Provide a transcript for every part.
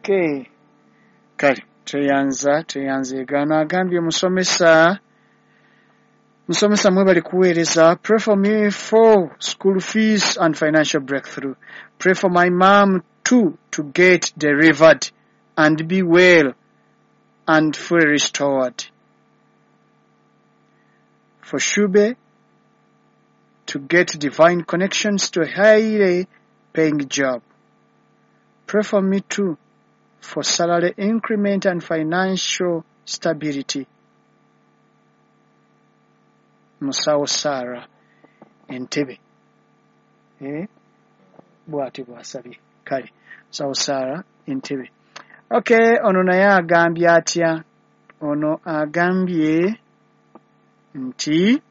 Okay, kale tweyanza tweyanzeegano. Agambye musomesa, musomesa mwebale kuweereza. Pray for me for school fees and financial breakthrough. Pray for my mom too to get delivered and be well and fully restored. For Shube to get divine connections to a highly paying job. Pray for me too for salary increment and financial stability. Musawo Sarah Entebbe. Eh? Bw'atyo bw'asabye. Kale, Musawo Sarah Entebbe. Okay, ono naye agambye atya? Ono agambye nti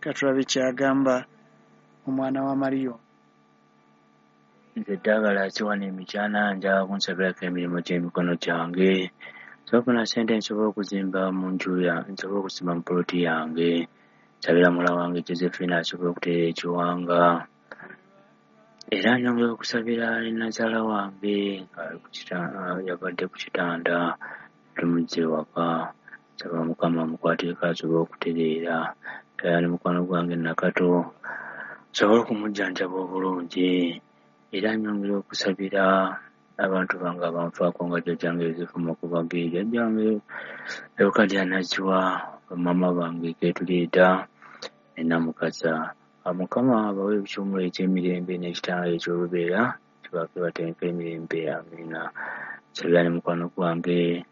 katulabe kyagamba omwana wa Mariyo. Nze ddagala siwana emikyana, njagala kunsabirako emirimu gy'emikono gyange. Nsobola okufuna ssente nsobole okuzimba mu nju nsobole okusimba mu poloti yange. Nsabira muwala wange Josephine asobole okutereera ekiwanga. Era nyongera okusabira ne nnazaala wange yabadde ku kitanda tumuzze ewaka. Nsaba Mukama amukwatireko asobole okutereera. Era ne mukwano gwange Nakato nsobole okumujjanjaba obulungi. Era nyongera okusabira abantu bange abanfaako nga jjajjange Yosefu Makubage, jjajjange Leokadiya Naziwa, bamaama bange Keetuliita ne Namukasa. Mukama abawe ekiwummulo eky'emirembe n'ekitangala eky'olubeera kibaake bateeke emirembe. Amiina. Nsabira ne mukwano gwange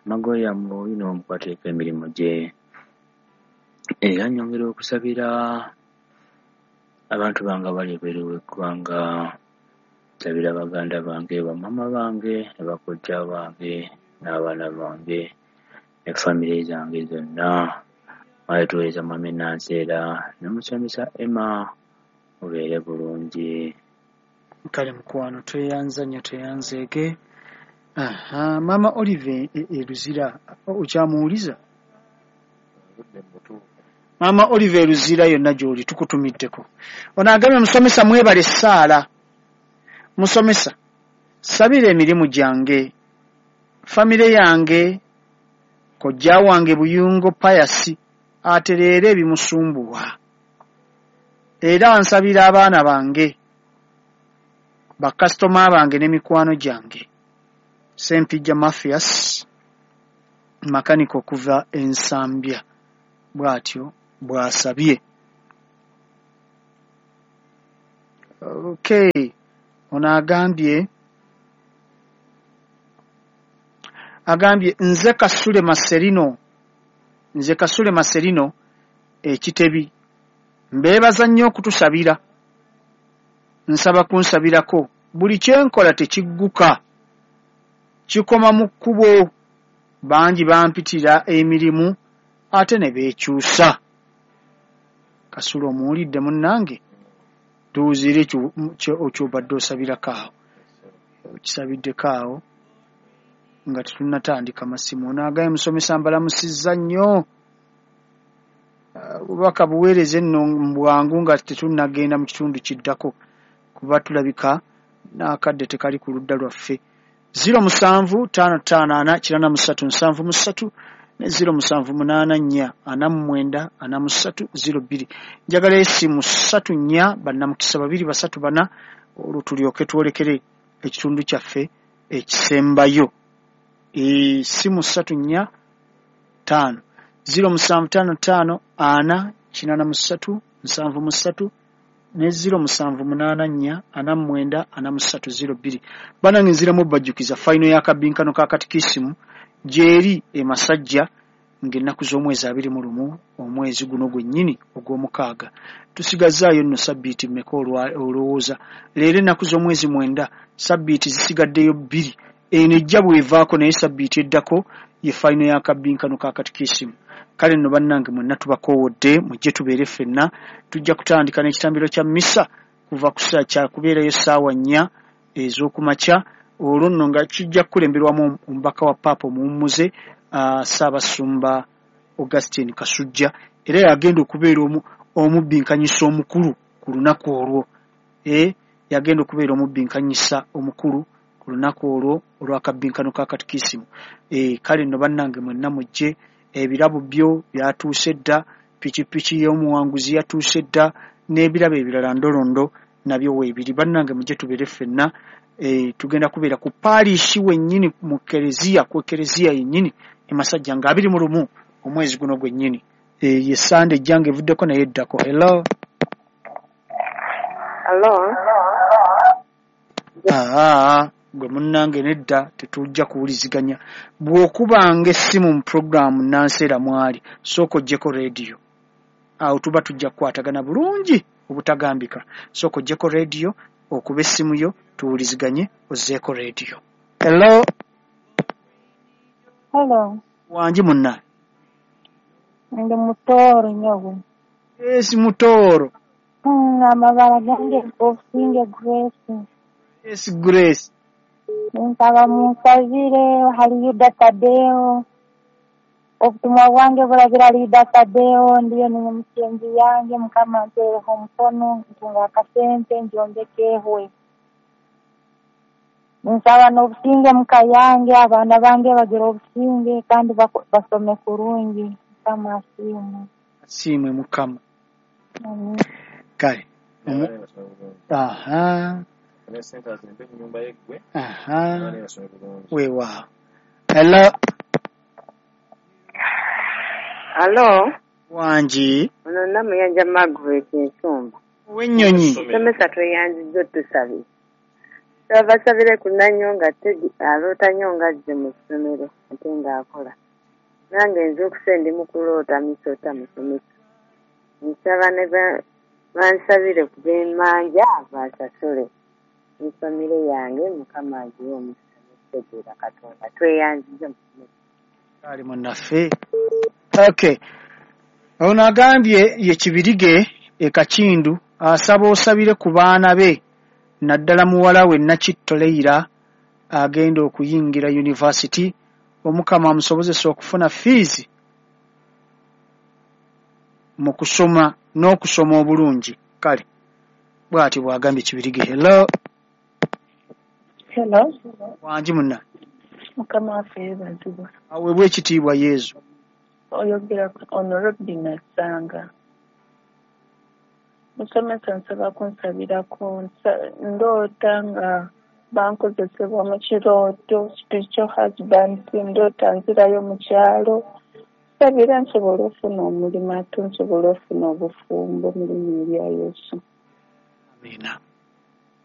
Magoya Mwoyino omukwatireko emirimu gye. Era nyongera okusabira abantu bange abali ebweru w'eggwanga. Nsabira baganda bange, bamaama bange ne bakojja bange n'abaana bange ne famire zange zonna. Mwale tuweereza Mwami Nanseera ne musomesa Emma, mubeere bulungi. Kale mukwano tweyanza nnyo tweyanzeege. Aha, Maama Olive e Luzira okyamuwuliza? Maama Olive e Luzira yonna gy'oli tukutumiddeko. Ono agambye musomesa mwebale essaala. Musomesa, sabira emirimu gyange, famire yange, kojja wange Buyungo Pius atereere ebimusumbuwa. Era nsabira abaana bange, bakasitoma bange ne mikwano gyange. Ssempijja Mathias, makanika okuva e Nsambya, bw'atyo bw'asabye. Okay. Ono agambye nze Kasule Maserino ekitebi mbeebaza nnyo okutusabira. Nsaba kunsabirako buli kyenkola tekigguka, kikoma mu kkubo. Bangi bampitira emirimu ate ne beekyusa. Kasule omuwulidde munnange? Tuwuziire ekyobadde osabirako awo, okisabiddeko awo nga tetunnatandika masimu. Ono agambye musomesa mbalamusizza nnyo, obubaka buweereze nno mu bwangu nga tetunnagenda mu kitundu kiddako kuba tulabika n'akadde tekali ku ludda lwaffe. 07 55 4 83 73 ne 07 84 49 43 02. Njagala esimu 3 4 bannamukisa 2 3 4 olwo tulyoke twolekere ekitundu kyaffe ekisembayo. Esimu 3 4 5 07 55 4 83 73 ne 07 84 49 43 02. Bannange nziramu bajjukiza fayino y'akabinkano ka katikisimu gyeri e Masajja ng'ennaku z'omwezi 21 omwezi guno gwennyini ogw'omukaaga. Tusigazaayo nno sabbiiti mmeka olowooza? Leero ennaku z'omwezi 9, sabbiiti zisigaddeyo 2. Eno ejja bw'evaako naye sabbiiti eddako ye fayino y'akabinkano ka katikisimu. Kale nno bannange mwenna tubakoowodde mujje tubeere ffenna. Tujja kutandika n'ekitambiro kya mmisa kuva ku kyakubeerayo ssaawa 4 ez'okumakya. Olwo nno nga kijja kukulemberwamu omubaka wa Paapa omuwummuze Ssaabasumba Augustine Kasujja, era yagenda okubeera omubbinkanyisa omukulu ku lunaku olwo. Yagenda okubeera omubbinkanyisa omukulu Ku lunaku olwo olw'akabbinkano ka katikisimu. Kale nno bannange mwenna mujje, ebirabo byo byatuuse dda, pikipiki y'omuwanguzi yatuuse dda, n'ebirabo ebirala ndolondo nabyo weebiri. Bannange mujje tubeere ffenna, tugenda kubeera ku paalishi wennyini mu kereziya, ku ekereziya yennyini e Masajja nga 21 omwezi guno gwennyini. Ye Sande ejja ng'evuddeko naye eddako. Hello. Hello. Gwe munnange nedda tetujja kuwuliziganya. Bw'okubanga essimu mu pulogulaamu Nanseera mwali, sooka oggyeko rediyo. Awo tuba tujja kukwatagana bulungi obutagambika. Sooka oggyeko rediyo, okube essimu yo, tuwuliziganye, ozzeeko rediyo. Hello. Hello. Wangi munna. Ndi Mutooro nyowe. Yes, Mutooro. Amabara gange Obusinge Grace. Yes, Grace. Nsaba munsabire hali Yuda Tadeo. Obutumwa bwange buragira hali Yuda Tadeo, ndiyo ni musenzi yange, Mukama ampeereho omukono, ntunga akasente njombeke ehwe. Nsaba n'obusinge muka yange, abaana bange bagire obusinge kandi basome kurungi. Mukama asiimwe. Asiimwe Mukama. Amen. Kale. Aha. Aha. Weewaawo. Hello. Hello. Wangi. Ono Namuyanja Margaret Nsumba. Ow'ennyonyi. Musomesa tweyanzizza otusabira. Twabasabire ku Nanyonga Teddy aloota nnyo ng'azze mu ssomero ate ng'akola. Nange nze okuse ndi mu kuloota misota musomesa. Nsaba ne bansabire ku b'emmanja bansasule. Ne famire yange Mukama agiwe omukisa n'okutegeera Katonda. Tweyanzizza musomesa. Ali munnaffe. Okay. Ono agambye ye Kibirige e Kakindu asaba osabire ku baana be naddala muwala we Nakitto Leira agenda okuyingira yunivasiti, Omukama amusobozesa okufuna fiizi mu kusoma n'okusoma obulungi. Kale bw'ati bw'agambye Kibirige. Hello. Hello. Wangi munna. Mukama waffe yeebazibwe. Aweebwe ekitiibwa Yezu. Oyogera ono Robin Assanga. Musomesa nsaba kunsabirako, ndoota nga bankozesebwa mu kirooto, spiritual husband, ndoota nzirayo mu kyalo. Nsabira nsobole ofuna omulimu ate nsobole ofuna obufumbo mu linnya erya Yesu. Amiina.